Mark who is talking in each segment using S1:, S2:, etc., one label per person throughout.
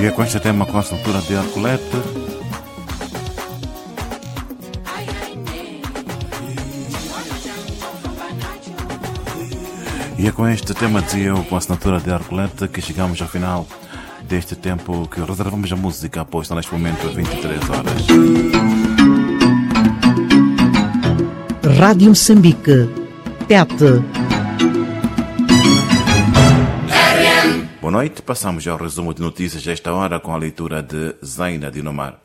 S1: E é com este tema com a assinatura de Arcolete. E é com este tema, dizia eu, com a assinatura de Arcolete, que chegamos ao final deste tempo que reservamos a música, pois está neste momento às 23 horas.
S2: Rádio Moçambique. Tete.
S1: Boa noite, passamos ao resumo de notícias desta hora com a leitura de Zaina Dinomar.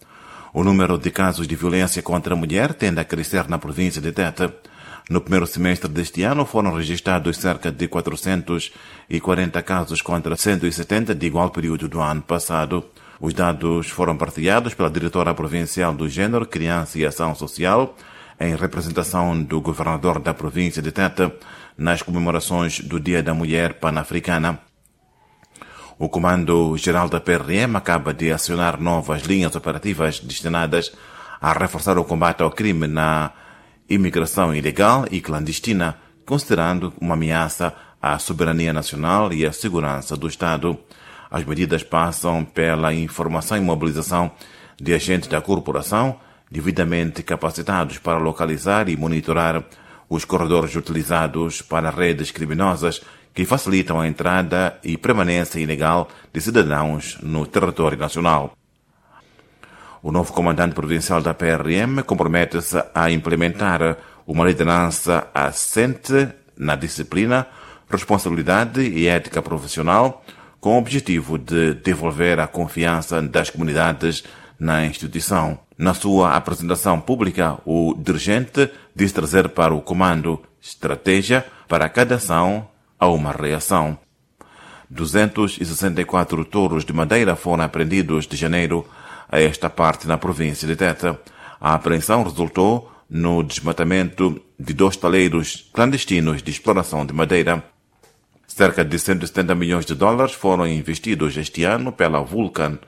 S1: O número de casos de violência contra a mulher tende a crescer na província de Tete. No primeiro semestre deste ano foram registrados cerca de 440 casos contra 170 de igual período do ano passado. Os dados foram partilhados pela diretora provincial do Gênero, Criança e Ação Social, em representação do governador da província de Tete, nas comemorações do Dia da Mulher Pan-Africana. O Comando-Geral da PRM acaba de acionar novas linhas operativas destinadas a reforçar o combate ao crime na imigração ilegal e clandestina, considerando uma ameaça à soberania nacional e à segurança do Estado. As medidas passam pela informação e mobilização de agentes da corporação devidamente capacitados para localizar e monitorar os corredores utilizados para redes criminosas que facilitam a entrada e permanência ilegal de cidadãos no território nacional. O novo comandante provincial da PRM compromete-se a implementar uma liderança assente na disciplina, responsabilidade e ética profissional, com o objetivo de devolver a confiança das comunidades na instituição. Na sua apresentação pública, o dirigente diz trazer para o comando estratégia para cada ação a uma reação. 264 touros de madeira foram apreendidos de janeiro a esta parte na província de Tete. A apreensão resultou no desmatamento de dois taleiros clandestinos de exploração de madeira. Cerca de 170 milhões de dólares foram investidos este ano pela Vulcan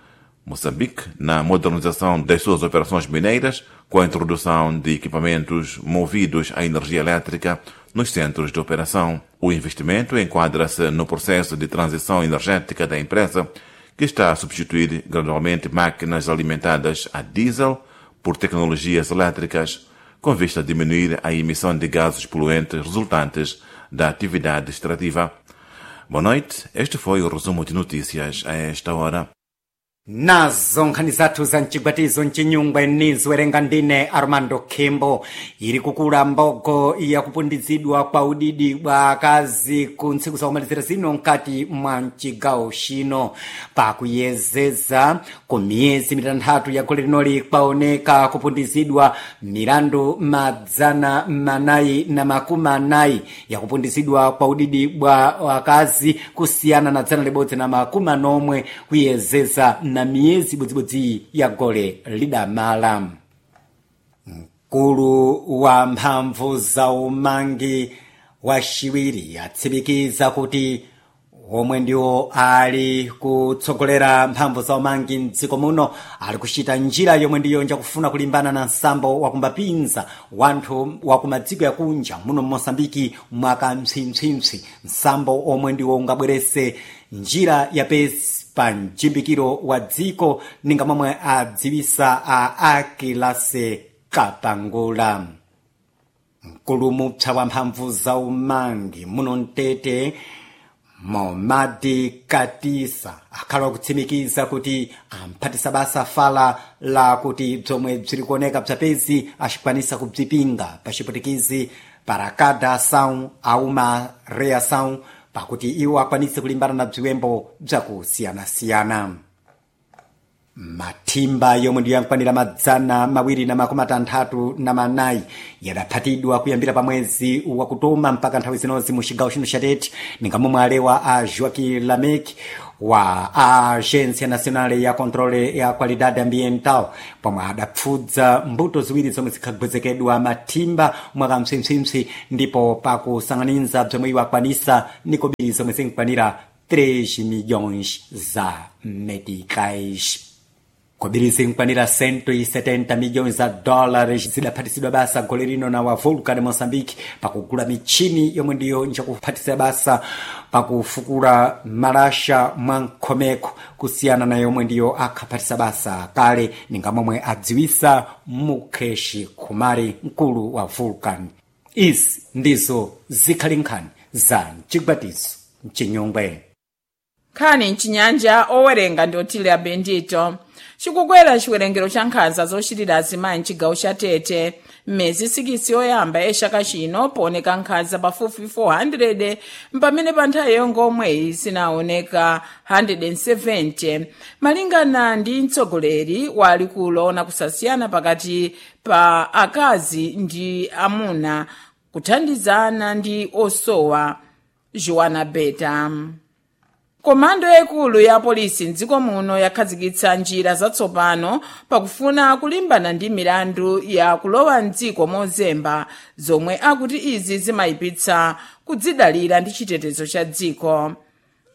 S1: Moçambique na modernização das suas operações mineiras, com a introdução de equipamentos movidos à energia elétrica nos centros de operação. O investimento enquadra-se no processo de transição energética da empresa, que está a substituir gradualmente máquinas alimentadas a diesel por tecnologias elétricas, com vista a diminuir a emissão de gases poluentes resultantes da atividade extrativa. Boa noite, este foi o resumo de notícias a esta hora.
S3: Nazo nkhani zathu za mchigwatizo mchinyungwe niziwerenga ndine Armando Khembo. Ili kukula mbogo yakupundizidwa kwa udidi bwa akazi ku ntsiku zakumalizira zino mkati mwa mchigawo chino, pakuyezeza ku miyezi mitanthatu ya gole linoli kwaoneka kupundizidwa milandu 440 yakupundizidwa kwa udidi bwa akazi kusiyana na 140 kuyezeza na miyezi ibodzibodzi ya gole lidamala. Mkulu wa mphamvu za umangi wa xiwiri atsimikiza kuti omwe ndiwo ali kutsogolera mphamvu za umangi mdziko muno ali kuchita njira yomwe ndiyo njakufuna kulimbana na nsambo wakumbapinza wanthu wakumadziko yakunja muno mMosambiki mwaka mpsimpsimpsi, nsambo omwe ndiwo ungabwerese njira yapesi pa mjimbikiro wa dziko, ninga momwe adziwisa a Akilase Kapangula. Mkulu mupsa wa mphamvu za umangi muno mtete Momadi Katisa akhala akutsimikiza kuti amphatisa basa fala la kuti bzomwe bziri kuoneka bzapezi acikwanisa kubzipinga paciputikizi para cada ação há uma reação, pakuti iwo akwanise kulimbana na bziwembo bzakusiyanasiyana. Mathimba yomwe ndiyo yankwanira 264 yadaphatidwa kuyambira pa mwezi wakutoma mpaka nthawi zinozi mu cigawo chino cha Tete, ninga momwe alewa a Joaquim Lamec wa Agência Nacional ya Controle ya Qualidade Ambiental, pomwe adapfudza mbuto ziwiri zomwe zikhagwezekedwa mathimba mwakampsimpsimpsi, ndipo pakusang'aninza bzomwe iwo akwanisa nikobiri zomwe zinkwanira 3 milhões za meticais. Kobiri zinkwanira 170 milhões za dólares zidaphatizidwa basa gole lino na wa Vulcan Moçambique pakugula michini yomwe ndiyo njakuphatisa basa pakufukula malasha mwa nkhomeko kusiyana na yomwe ndiyo akhaphatisa basa kale ninga momwe adziwisa Mukesh Kumari mkulu wa Vulcan. Izi ndizo zikhali nkhani za mchigwatizo mchinyongwe.
S4: Nkhani mchinyanja, owerenga ndi Otilia Bendito. Chikukwera chiwerengero cha nkhanza zochitira azimayi mchigawo cha Tete. M'miyezi 6 yoyamba ya chaka chino pooneka nkhanza pafupi 400, pamene pa nthawi yongomweyi zinaoneka 170, malingana ndi mtsogoleri wa likulu ona kusasiyana pakati pa akazi ndi amuna, kuthandizana ndi osowa, Joana Beta. Komando yaikulu ya polisi mdziko muno yakhazikitsa njira zatsopano pakufuna kulimbana ndi milandu ya kulowa mdziko mozemba, zomwe akuti izi zimayipitsa kudzidalira ndi chitetezo cha dziko.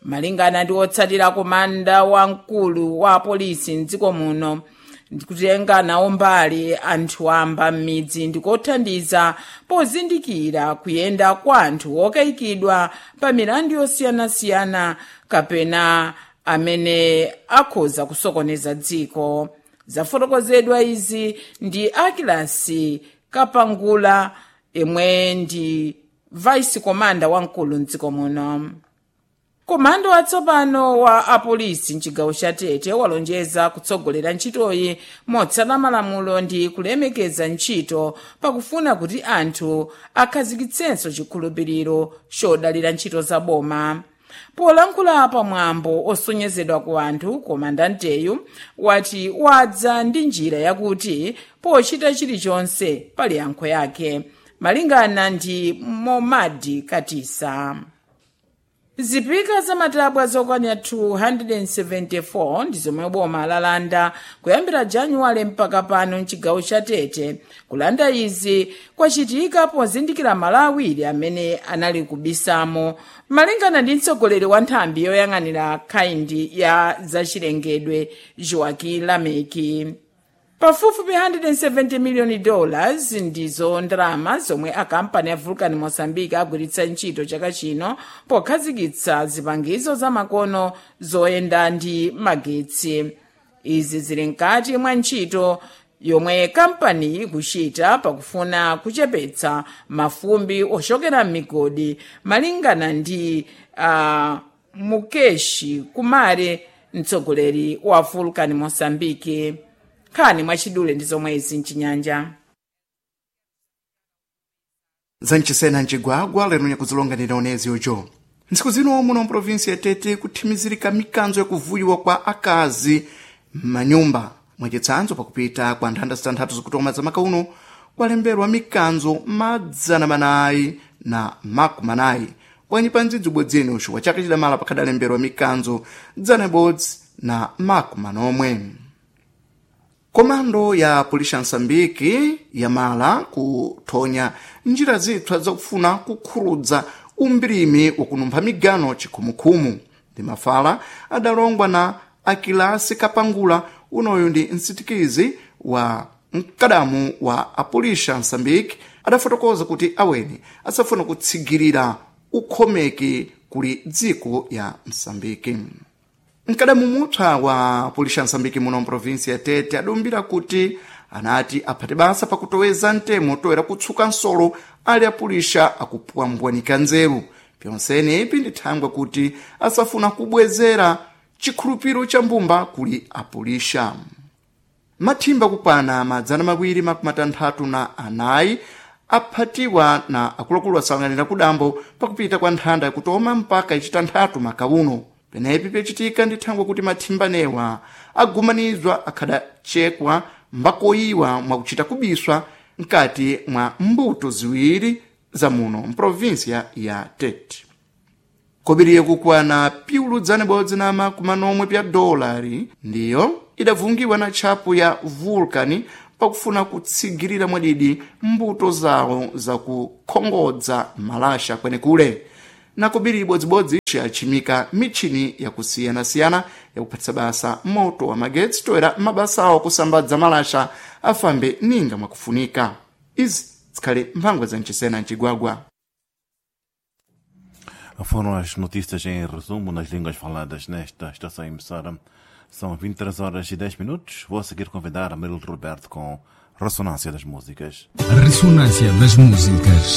S4: Malingana ndi otsatira komanda wamkulu wa polisi mdziko muno, ndikutenga nawo mbali anthu amba m'midzi ndikothandiza pozindikira kuyenda kwa anthu okayikidwa pa milandu yosiyanasiyana kapena amene akhoza kusokoneza dziko. Zafotokozedwa izi ndi Akilasi Kapangula, yemwe ndi vice commander wamkulu mdziko muno. Komando watsopano wa apolisi mchigawo cha Tete walonjeza kutsogolera ntchitoyi motsata malamulo ndi kulemekeza ntchito pakufuna kuti anthu akhazikitsenso chikhulupiriro chodalira ntchito za boma. Polankhula pamwambo osonyezedwa ku anthu, komandanteyu wati wadza ndi njira yakuti pochita chilichonse pali yankho yake, malingana ndi Momadi Katisa. Zipika zamatabwa zokwanira 274 ndi zomwe boma lalanda kuyambira Januwale mpaka pano mchigawo cha Tete. Kulanda izi kwachitika pozindikira malo awiri amene anali kubisamo, malingana ndi mtsogoleri wa nthambi yoyang'anira khayindi ya zachilengedwe, Joaquim Lameki. Pafupifupi 170 miliyoni dollars ndizo ndalama zomwe akampani ya Vulcan Mozambique agwiritsa ntchito chaka chino pokhazikitsa zipangizo zamakono zoyenda ndi magetsi. Izi zili mkati mwa ntchito yomwe kampani ikuchita pakufuna kuchepetsa mafumbi ochokera m'migodi, malingana ndi Mukeshi Kumare, mtsogoleri wa Vulcan Mozambique. Nkhani mwachidule ndi zomwe izi mchinyanja.
S5: Zanchisena mcigwagwa lero nyakuzilonganira onezi ojo. Ntsiku zino muno mprovinsi ya Tete kuthimizirika mikanzo yakuvuyiwa kwa akazi m'manyumba. Mwachitsanzo, pakupita kwa nthanda zitanthatu zikutoma za maka uno kwalemberwa mikanzo 440, bwanyi pa ndzidzi ubwedzeni uxuwa chaka chidamala pakhadalemberwa mikanzo 147. Komando ya Polisi ya Msambiki yamala kuthonya njira zipsa zakufuna kukhurudza umbirimi wakunumpha migano chikhumukhumu. Ndi mafala adalongwa na Akilasi Kapangula, unoyu ndi msitikizi wa mkadamu wa apolisi ya Msambiki, adafotokoza kuti aweni asafuna kutsigirira ukhomeki kuli dziko ya Msambiki. Mkadamu mupsa wa polisi ya Msambiki muno mprovinsi ya Tete adumbira kuti anati aphate basa pakutoweza mtemo toera kutsuka nsolo ali apulisha akupwambwanika nzeru. Pyonsene ipi ndi thangwe kuti asafuna kubwezera chikhulupiro cha mbumba kuli apulisha. Mathimba kukwana 264 aphatiwa na akuluakulu asanganira kudambo pakupita kwa nthanda yakutoma mpaka ichitanthatu maka uno. Penepi pyacitika ndi thangwe kuti mathimbanewa agumanizwa akhadacekwa mbakoyiwa mwakuchita kubiswa mkati mwa mbuto ziwiri za muno mprovinsia ya Tete. Kobiriye kukwana piulu 146 pya dolari ndiyo idavungiwa na tchapu ya Vulcan pakufuna kutsigirira mwadidi mbuto zawo zakukhongodza malasha kwenekule. Na kobiri ibodzibodzi achimika michini yakusiyanasiyana Yakuphatisa basa moto wa magetsi toera mabasa awo kusambadza malasha afambe ninga mwakufunika. Izi zikhale mphangwa za mchisena mcigwagwa.
S1: Foram as notícias em resumo nas línguas faladas nesta estação emissora. São 23 horas e 10 minutos. Vou a seguir convidar Amarildo Roberto com Ressonância das Músicas.
S6: Ressonância das Músicas.